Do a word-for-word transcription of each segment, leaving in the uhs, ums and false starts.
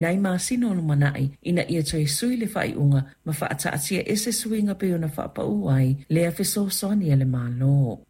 Nai masina o lumanai ina ia toe sui le faaiuga ma faataatia ese suiga pei ona faapau ai lea fesoasoani a le Malo.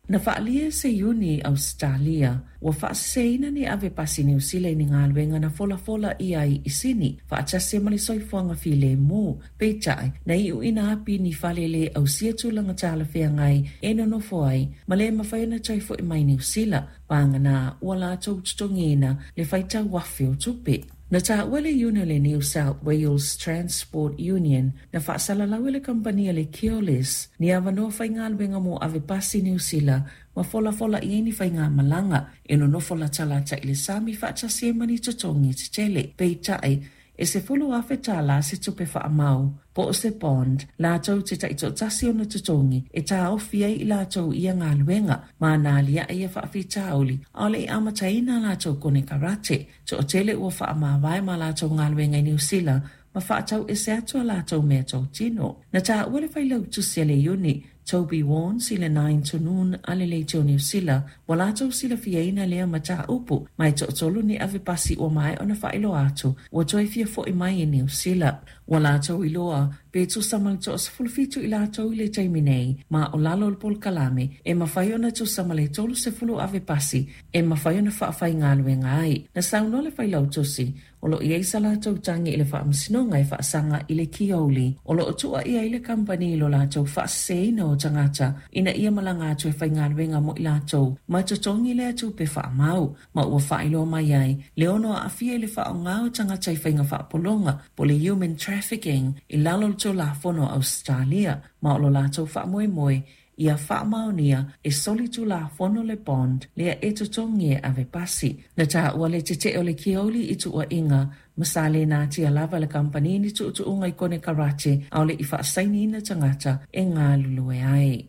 Na faaalia e se iuni i Ausetalia ua faaseseina ni ave pasi Niu Sila i ni galuega na folafola ʻia ai i sini faatasi ma le soifuaga filemu. Peitai, na iuina api ni fale le ausia tulaga talafeagai e nonofo ai ma le mafai ona toe fo'i mai Niu Sila, paganā ua latou totogiina le faitau afe o tupe. Na taua le iuni o le New South Wales Transport Union na faasalalau e le kamupani a le Keolis ni avanoa faigaluega mo ave pasi Niu Sila ma folafola i ai ni faigamalaga e nonofo latalata i le sami faatasi ai ma ni totogi tetele. Peitai, e sefulu afe tālā se tupe faamau po o se bond latou te taitoatasi ona totogi e taofi ai i latou ia galuega ma nā aliae ia faafitauli ʻaʻole i amataina a latou konekarate. Toatele ua faamavae ma latou galuega i Niu Sila ma faatau ese atu a latou mea totino. Na taua le failautusi a le iuni Toby Warnes i le nine to noon a le leitio Niu Sila ua latou silafiaina lea mataupu ma e toatolu ni ave pasi ua maea ona faailoa atu ua toe fia fo'i mai i Niu Sila. Ua latou iloa pe tusa ma le toasefulufitu i latou i le taimi nei ma o lalo o le polokalame e mafai ona tusa ma le tolu sefulu ave pasi e mafai ona faafaigaluega ai. Na saunoa le failautusi o lo o i ai sa latou tagi i le faamasinoga e faasaga i le Keolis o lo o tuuaia ai le kamupani i lo latou faaseseina o tagata ina ia malaga atu e faigaluega mo i latou ma totogi lea tupe faamau, ma ua faailoa mai ai le ono aafia i le faaaoga o tagata i faiga faapologa po le human trafficking i lalo o le Tulafono a Ausetalia, ma o lo latou faamoemoe ia faamaonia e soli tulafono le bond lea e totogi e ave pasi. Na taua le tetee o le Keolis i tuuaiga ma sa le natia lava le kamupani ni tuutuuga i konekarate ʻaʻole i faasainiina tagata e galulue ai.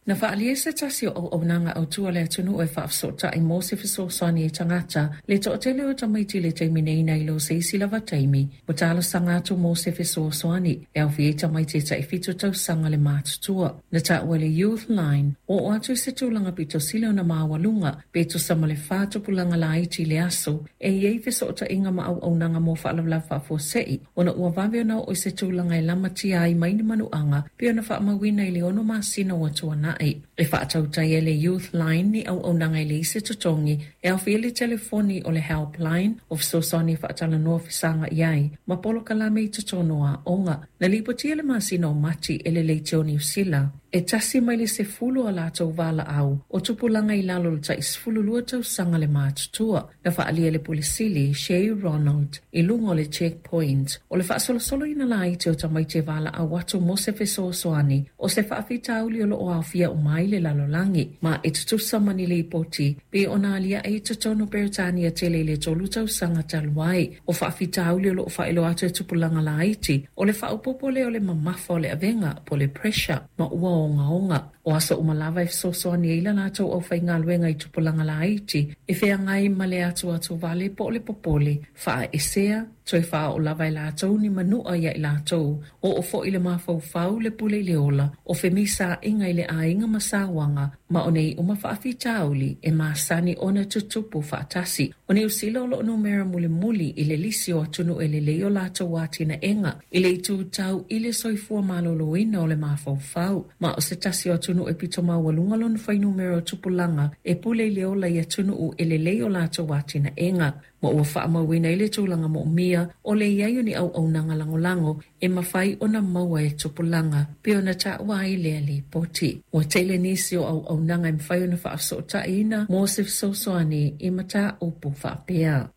Na faaalia se tasi o auaunaga autu a le atunuu e faafesootai mo se fesoasoani i tagata le toatele o tamaiti i le taimi nei nai lo se isi lava taimi ua talosaga atu mo se fesoasoani e aofia ai tamaiti e taifitu tausaga le matutua. Na taua le Youth Line ua oo atu i se tulaga pito sili ona maualuga pe tusa ma le fa tupulaga laiti i le aso e i ai fesootaiga ma auaunaga mo faalavelave faafuasei ona ua vave ona oo i se tulaga e lamatia ai mai ni manuaga pe ona faamauina i le ono masina ua tuanai. E faatautai e le Youth Line ni auaunaga e leai se totogi e aofia le telefoni o le Helpline o fesoasoani e faatalanoa fesaga'i ai ma polokalame i totonu o aoga. Na lipotia le masina o Mati e le Leitio Niu Sila e tasi mai le sefulu a latou valaau o tupulaga i lalo o le tai sefululua tausaga le matutua. Na faaalia le Pule Sili Shay Ronald i luga o le Checkpoint o le faasolosoloina laiti o tamaiti e valaau atu mo se fesoasoani o se faafitauli o lo o aofia uma ai le lalolagi, ma e tutusa ma ni lipoti pe ona aliae i totonu o Peretania tele i le tolu tausaga talu ai. O faafitauli o lo o faailoa atu e tupulaga laiti o le faaopoopo lea o le mamafa o le avega po o le pressure ma ua ogaoga. O aso uma lava e fesoasoani ai la latou aufaigaluega i tupulaga laiti e feagai ma le atuatuvale po o le popole faaesea toe faaoo lava e latou ni manua ia i latou oo foi le mafaufau le pule i le ola o femisaaiga i le aiga ma sauaga, ma o nei uma faafitauli e masani ona tutupu faatasi. O Niu Sila o lo o numera mulimuli i le lisi o atunuu e lelei o latou atinaega i le itu tau i le soifua maloloina o le mafaufau, ma o se tasi o atunuu e pito maualuga lona fuainumera o tupulaga e pule i le ola i atunuu e lelei o latou atinaega, ma ua faamauina i le tulaga moomia o le iai o ni auaunaga lagolago e mafai ona maua e tupulaga pe ona taua ai lea lipoti. Ua tele nisi o auaunaga e mafai ona faafesootaiina mo se fesoasoani i mataupu faapea.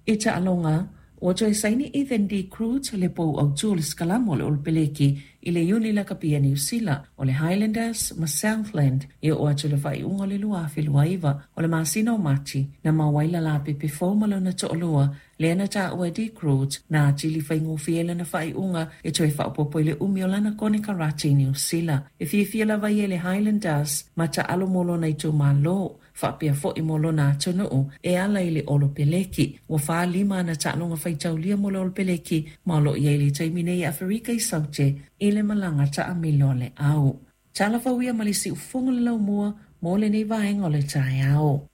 I taaloga, ua toe saini Ethan De Groot le pou autu o le sikalamo o le Olopeleki i le iuni lakapi a Niu Sila o le Highlanders ma Southland e oo atu le faaiuga o le lua afe lua iva. O le masina o Mati na maua ai lalapepe fou ma lona toalua lea na taua e De Groot na atili faigofie lana faaiuga e toe faaopoopo i le umi o lana konekarate i Niu Sila. E fiafia lava ia i le Highlanders ma taalo mo lona itumalo faapea fo'i mo lona atunuu e ala i le Olopeleki. Ua falima ana taaloga faitaulia mo le Olopeleki ma o lo o i ai le taimi nei i Aferika i Saute i le malaga taamilo a le au. Tala fau ia ma le siufofoga le laumua mo lenei vaega o le taeao.